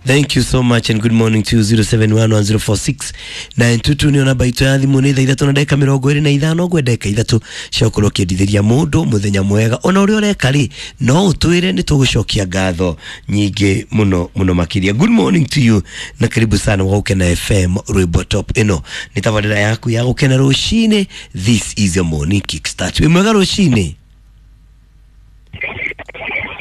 Thank you so much and good morning to you. 0711046922 nä namba itå ya thimå nä thaa 3 na ndagä 25 ngwe ndagä 3 cia gå korwo kä endithä må ndå må thenya mwega ona å rä a å reka rä no å twä re nä tå gå cokia ngatho nyingä må no må no makä ria. Good morning to you na karibu sana wa Gukena FM rwimbo top ĩno nĩ tabarĩra yaku ya gũkena rũcinĩ. This is your morning kickstart. Wĩ mwega rũcinĩ.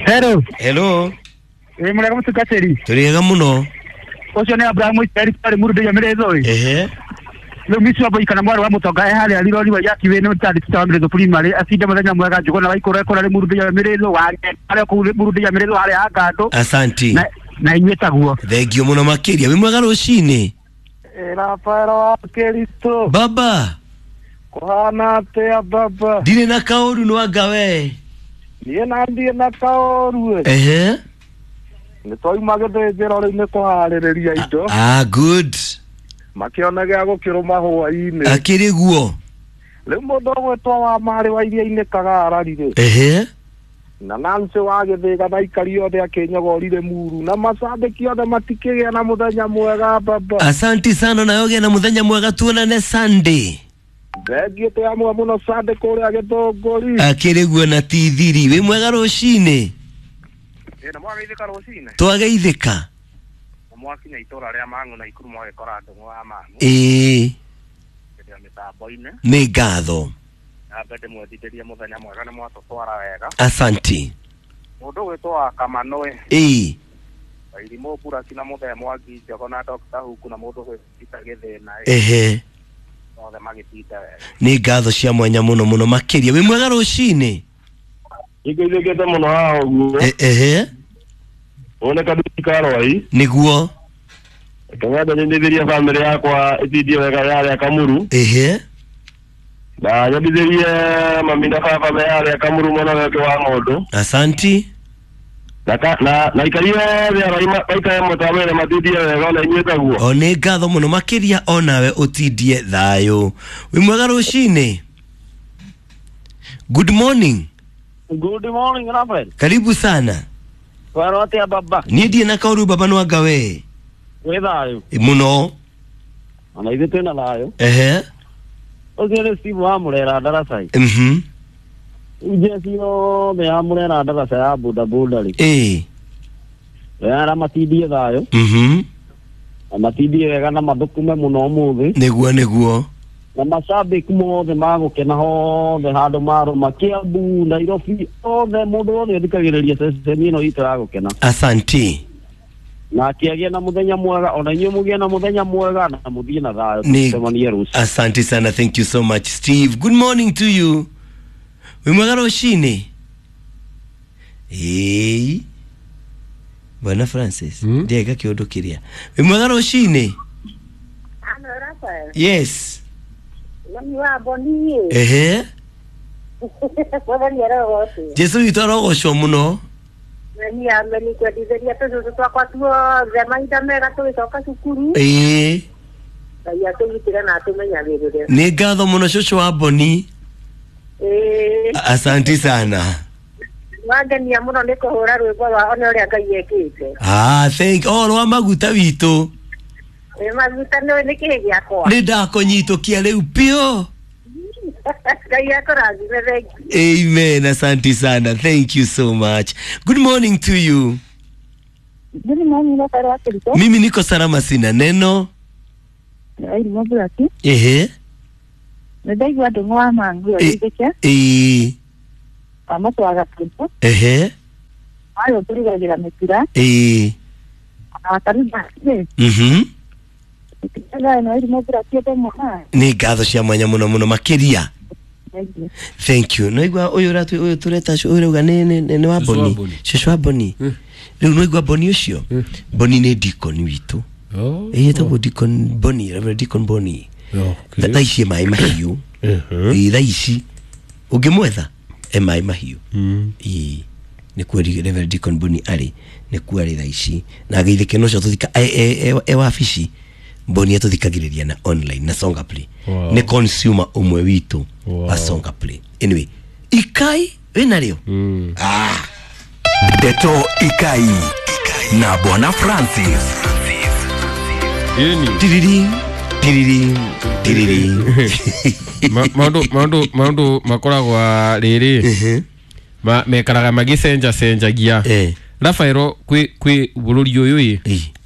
Hello. Hello. Wĩ mwega mũtungatĩri? Tũrĩ ega mũno. Ũcio nĩ Abraham Isiraeli twarĩ mũrundu ya Mĩrĩthũ. Ehe. Rĩu Miss Wambui kana mwarĩ wa mũtonga e harĩa Rironi wa Yakiwĩ nĩ mũtandĩki wa Mĩrĩthũ Primary acinde mũthenya mwega Njũgũna wa Ikũrũ ekũra rĩ mũrundu ya Mĩrĩthũ wa harĩa kũu mũrundu ya Mĩrĩthũ harĩa Angandũ. Asanti. Na inyuĩ taguo. Thengio mũno makĩria. Wĩ mwega rũcinĩ? Rafael wa Kristo. Baba. Kũhana atĩa baba? Ndirĩ na kaũru no anga we. Niĩ na ndirĩ na kaũru. Ehe. Nĩ twauma gĩthĩnjĩro rĩu nĩ kũharĩrĩria indo. Ah, good. Makĩona gĩa gũkĩrũma hwaĩ-inĩ. Akĩrĩ guo. Rĩu mũndũ ũgwĩtwo wa marĩ wa iria-inĩ Kagarari rĩ. Ehe. Na Nancy wa Gĩthĩga na aikari othe akĩnyogorire muru na macambĩki othe matikĩgĩa na mũthenya mwega baba. Asanti sana na yoge na mũthenya mwega, tuonane Sunday. Thengiũ twĩ amwe mũno Sunday kũrĩa Gĩthũngũri. Akĩrĩ guo na ti thiri. Wĩ mwega rũcinĩ? Na mwageithĩka rũcinĩ? Twageithĩka. Mwakinya itũra rĩa Mang'u na Ikuru mwagĩkora Ndũng'ũ wa Mang'u. Ĩĩ. Rĩrĩa mĩtambo-inĩ. Nĩ ngatho. Nambe ndĩmwendithĩrie mũthenya mwega nĩ mwatũtwara wega. Asanti. Mũndũ ũgwĩtwo wa Kamanũĩ. Ĩĩ. Wairimũ Buraki na Mũthee Mwangi Njogo na Dr. Huku na mũndũ ũgwĩtwo Gĩthĩna. Ehe. Othe magĩtinda wega. Nĩ ngatho cia mwanya mũno mũno makĩria. Wĩ mwega rũcinĩ? Nĩngeithĩkĩte mũno haha ũguo. Ehe. One kaduki karwai. Nĩguo. Kang'atha nyendithĩrie bamĩrĩ yakwa ĩtindie wega yarĩa Kamuru. Ehe. Na nyendithĩrie mami na baba me harĩa Kamuru mwena wake wa ng'ũndũ. Asanti. Na aikari othe arĩa maikare mũtambo-inĩ matindie wega ona inyuĩ taguo. O nĩ ngatho mũno makĩria onawe ũtindie thayũ. Wĩ mwega rũcinĩ? Good morning. Good morning Rafael. Karibu sana. Kwaro atĩa baba? Niĩ ndirĩ na kaũru baba no anga we. Wĩ thayũ? Mũno. Ona ithuĩ twĩna thayũ. Ehe. Ũcio nĩ Steve wa Mũrera Ndaracai. Mhm. Njeci yothe ya Mũrera Ndaraca ya boda boda rĩ. Ĩĩ. Wera matindie thayũ. Mhm. Na matindie wega na mathũkũme mũno ũmũthĩ. Nĩguo nĩguo. Na macambĩki mothe magũkena hothe handũ marũma Kiambu, Nairobi, othe mũndũ wothe ũthikagĩrĩria ceceni ĩno itũ ya gũkena. Asanti. Na akĩagĩa na mũthenya mwega ona inyuĩ mũgĩe na mũthenya mwega na mũthiĩ na thayũ tũcemanie rũciũ. Asante sana, thank you so much Steve. Good morning to you. Wĩ mwega rũcinĩ? Ĩĩ. Bwana Francis, ndiaga kĩũndũ kĩrĩa. Wĩ mwega rũcinĩ? Yes. Mami wa Boni. Ehe. Mwathani arogocwo. Jesu witũ arogocwo mũno. Mami ameni kwendithĩria tũcũcũ twakwa tuothe mahinda mega tũgĩcoka cukuru. Ĩĩ. Ngai atũgitĩre na atũmenyagĩrĩre. Nĩ ngatho mũno cũcũ wa Boni. Ĩĩ. Asanti sana. Wangenia mũno nĩ kũhũra rwĩmbo rwa one ũrĩa Ngai ekĩte. Ah, thank oh rwa maguta witũ. Ĩ maguta nĩ kĩĩ gĩakwa? Nĩ ndakũnyitũkia rĩu piũ. Ngai akũrathime, thank you. Amen, asante sana. Thank you so much. Good morning to you. Good morning, Rafael wa Kristo. Mimi niko salama sina neno. Irimũ Buraki. Ehe. Nĩ ndaigua Ndũng'ũ wa Mang'u agĩthĩke. Ĩĩ. Wa mũtwaga kĩndũ. Ehe. Warĩ ũtũrugagĩra mĩtura. Ĩĩ. Na wakarumba rĩ. Mhm. Nĩ ngatho cia mwanya mũno mũno makĩria. Thank you. Naigua ũyũ ũratũ ũyũ tũreta ũyũ ũrauga nĩ wa Boni. Cũcũ wa Boni. Rĩu naigua Boni ũcio. Boni nĩ deacon witũ. Ĩĩ etagwo Deacon Boni, Reverend Deacon Boni. Thaa ici maĩ mahiũ. Ĩĩ thaa ici ũngĩmwetha e maĩ mahiũ. Ĩĩ nĩkuo Reverend Deacon Boni arĩ, nĩkuo arĩ thaa ici. Na ageithĩke no ũcio tũthika e wabici. Boni atũthikagĩrĩria na online na Songa Play. Wow. Nĩ consumer ũmwe witũ wa Songa Play. Anyway, ikai wĩna rĩo? Ah. Ndeto Ikai. Na Bwana Francis. Ĩni. Tiriri tiriri tiriri. Maundu makoragwo rĩrĩ mekaraga magĩcenjacenjagia. Rafaelo, kwĩ bũrũri ũyũ ĩ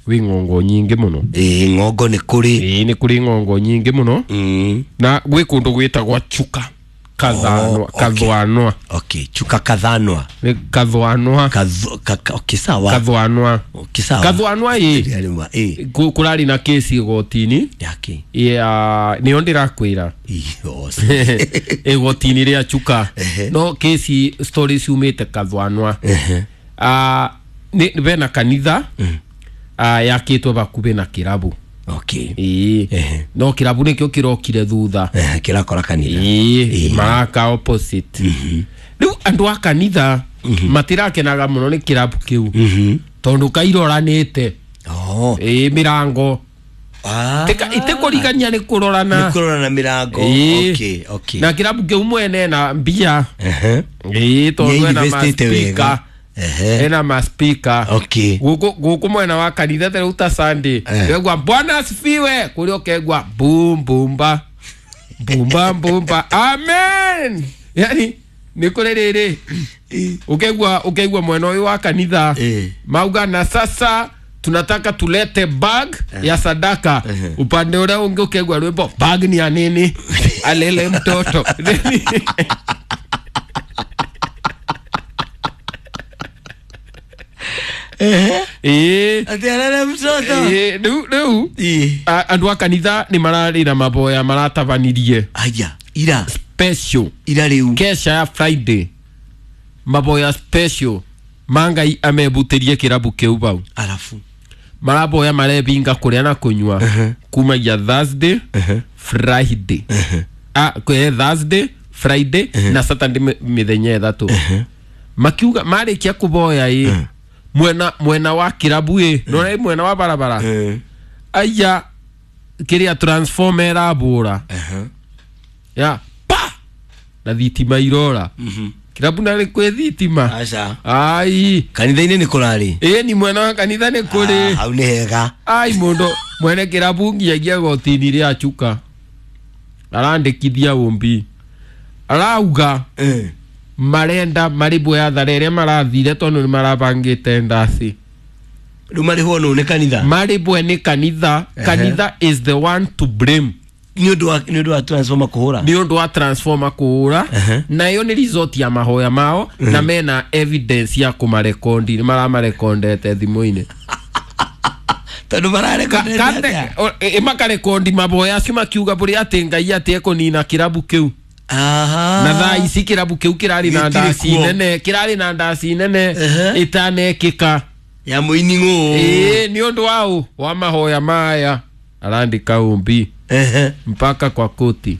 wĩ ng'ongo nyingĩ mũno. Ĩ ng'ongo nĩ kũrĩ. Ĩ nĩ kũrĩ ng'ongo nyingĩ mũno. Na gwĩ kũndũ gwĩtagwo Chuka Kathanwa. Kathwanwa. Okay, Chuka Kathanwa. Nĩ Kathwanwa. Okay, sawa. Kathwanwa. Okay, sawa. Kathwanwa ĩ kũrarĩ na kesi igoti-inĩ. Yake. Ya nĩyo ndĩrakwĩra. Igoti-inĩ rĩa Chuka. No kesi story ciumĩte Kathwanwa. Nĩ bena kanitha yakĩtwo bakubĩ na kĩrabu. Okay. Ĩĩ. No kĩrabu nĩkĩo kĩrokire thutha. Kĩrakora kanitha. Ĩĩ, maraka opposite. Rĩu andũ a kanitha matirakenaga mũno nĩ kĩrabu kĩu. Tondũ kairoranĩte. Ĩĩ, mĩrango. Ĩtĩkũrigania nĩ kũrorana. Nĩ kũrorana mĩrango. Okay, okay. Na kĩrabu kĩu mwene na mbia. Ĩĩ, tondũ ena ma-speaker. Ena ma-speaker. Okay. Guku mwena wa kanitha ta rĩu ta Sunday. Wegwa Bwana asifiwe kũrĩa ũkegwa boom boomba. Boomba boomba. Amen. Yani nĩ kũrĩ rĩrĩ. Ũkegwa mwena ũyũ wa kanitha. Mauga na sasa tunataka tulete bag ya sadaka. Upande ũrĩa ũngĩ ũkegwa rwĩmbo bag ni ya nini? Alele mtoto. Ati alele mtoto. Rĩu andũ a kanitha nĩ mararĩ na maboya maratabanirie. Aya, ira special. Ira rĩu. Kesha ya Friday. Maboya special. Mangai amebutĩrie kĩrabu kĩu bau. Alafu maraboya marebinga kũrĩa na kũnyua kumagia Thursday, Friday. Thursday, Friday na Saturday mĩthenya ĩthatũ. Makiuga marĩkia kũboya ĩ mwena wa kĩrabu ĩ nora mwena wa barabara. Aya kĩrĩa transformer ĩrabũra. Ya pa na thitima irora. Kĩrabu narĩ kwĩ thitima. Aca. Ai kanitha-inĩ nĩ kũrarĩ. Ĩ ni mwena wa kanitha nĩ kũrĩ. Hau nĩ hega. Ai mũndũ mwene kĩrabu nginyagia goti-inĩ rĩa Chuka. Arandĩkithia ũmbi. Arauga marenda marĩbwo ya thare ĩrĩa marathire tondũ nĩ marabangĩte ndaci. Rĩu marĩhwo nũ nĩ kanitha? Marĩbwe nĩ kanitha. Kanitha is the one to blame. Nĩ ũndũ wa transformer kũhũra. Nĩ ũndũ wa transformer kũhũra. Na ĩyo nĩ result ya mahoya mao na mena evidence ya kũmarekondi nĩ maramarekondete thimũ-inĩ. Tondũ mararekondete atĩa? Makarekondi maboya acio makiuga bũrĩa atĩ Ngai atĩ ekũnina kĩrabu kĩu. Na thaa ici kĩrabu kĩu kĩrarĩ na ndaci nene, kĩrarĩ na ndaci nene ĩtanekĩka. Ya mũini ng'ũ. Ĩĩ, nĩ ũndũ wa wa mahoya maya arandĩka ũmbi. Mpaka kwa koti.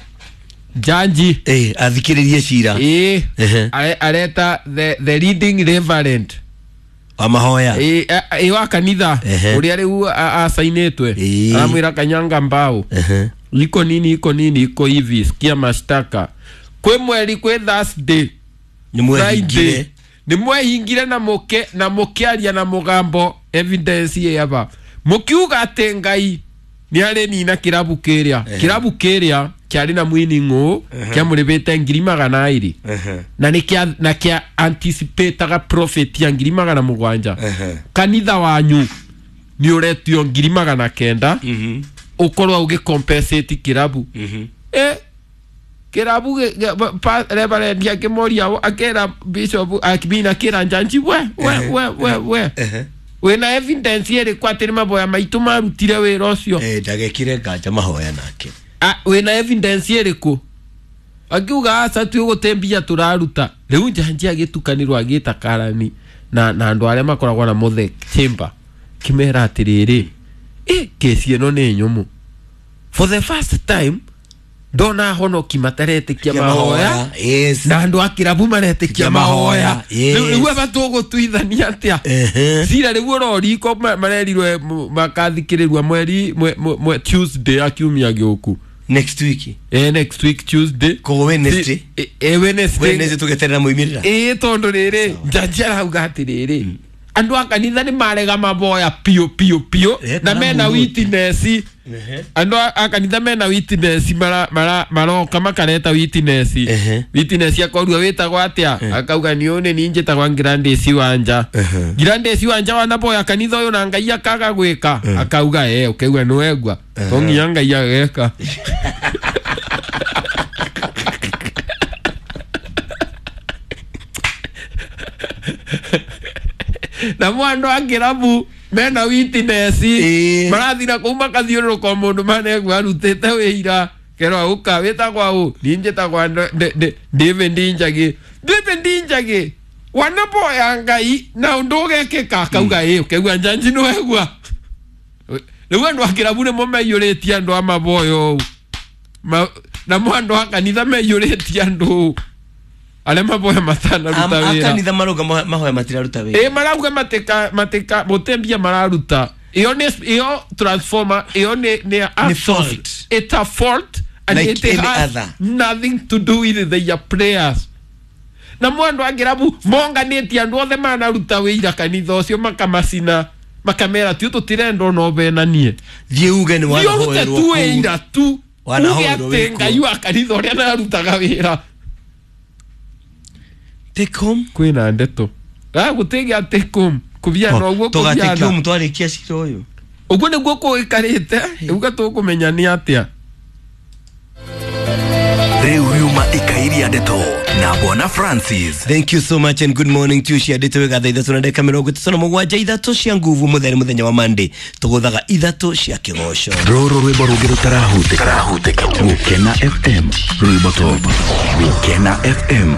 Jaji athikĩrĩrie cira. Areta the leading reverend wa mahoya. Wa kanitha ũrĩa rĩu asainĩtwe. Aramwĩra kanyanga mbao. Iko nini iko nini iko hivi, sikia mashtaka. Kwĩ mweri kwĩ Thursday nĩ mwehingire. Nĩ mwehingire na mũke na mũkĩaria na mũgambo evidence ĩ aba. Mũkiuga atĩ Ngai nĩ arĩ nina kĩrabu kĩrĩa. Kĩrabu kĩrĩa kĩarĩ na mwini ng'ũ kĩamũrĩbĩte 200,000. Na nĩ kĩa na kĩa anticipataga profit ya 700,000. Kanitha wanyu nĩ ũretio 900,000. Ũkorwo ũgĩcompensate kĩrabu. Kĩrabu reverend akĩmoria akera bishop akibina kĩra njanji we we we we we. Wĩna evidence ĩrĩkũ atĩ nĩ maboya maitũ marutire wĩra ũcio? Ndagekire nganja mahoya nake. Wĩna evidence ĩrĩkũ? Akiuga aca twĩ gũte mbia tũraruta. Rĩu njanji agĩtukanĩrwo agĩta karani na andũ arĩa makoragwo na mũthe chamber kĩmera atĩrĩrĩ, kesi ĩno nĩ nyũmũ. For the first time ndona honoki mataretĩkia mahoya. Na andũ a kĩrabu maretĩkia mahoya. Rĩu aba tũgũtuithania atĩa? Cira rĩu ũroriko marerirwe makathikĩrĩrua mweri Tuesday ya kiumia gĩũku. Next week. Next week Tuesday. Koguo Wednesday. Wednesday. Wednesday tũgeterera moimĩrĩra. Tondũ rĩrĩ njanji arauga atĩrĩrĩ Andu a kanitha nĩ marega maboya piũ piũ piũ na mena witness. Andu a kanitha mena witness maroka makareta witness. Witness akorua wĩtagwo atĩa, akauga nĩ ũyũ nĩ niĩ njĩtagwa Gladys Wanja. Gladys Wanja wanaboya kanitha ũyũ na Ngai akaga gwĩka, akauga ũkaigua nĩ wegua to nginya Ngai ageka. Na mwandu a kĩrabu mena witness marathira kũu makathiũrũrũka mũndũ manegua arutĩte wĩira kerwa ũka wĩtagwa ũ niĩ njĩtagwa David Njagi. David Njagi wanaboya Ngai na ũndũ ũgekĩka, akauga ũkaigua njanji nĩ wegua. Rĩu andũ a kĩrabu nĩmo meiyũrĩtie andũ a maboyo ũũ, namo andũ a kanitha meiyũrĩtie andũ ũũ arĩa maboya matanaruta wĩra. Akanitha marauga mahoya matiraruta wĩra. Marauga matika mũtembia mararuta. Iyo nĩ iyo transformer iyo nĩ fault. It's a fault and like it any has other. Nothing to do with their prayers. Na mwandu a kĩrabu monganĩtie andũ othe manaruta wĩira kanitha ũcio makamacina makamera tiu tũtirenda ona ũbenanie. Thiĩ uge nĩ Thiĩ ũrute wanahoerwo tu kũu. wĩira tu uge Wanahoerwo atĩ wĩ Ngai wa kanitha ũrĩa narutaga wĩra. Take home Kwĩna ndeto gũtĩgĩa take home kũbiana ũguo tũgatake kũbiana home twarĩkia cira ũyũ. Ũguo nĩguo kũikarĩte rĩu tũkũmenya nĩ atĩa. Rĩu riuma ikairia ndeto na Bwana Francis. Thank you so much and good morning to you. Ciandĩtwo wega thaa 3 na ndagĩka 37, 3 cia nguvu mũthenya mũthenya wa Monday tũgũthaga 3 cia kĩgoco. Rũrũ rwĩmbo rũngĩ rũtarahutĩka. Gũkena FM rwĩmbo top. Gũkena FM.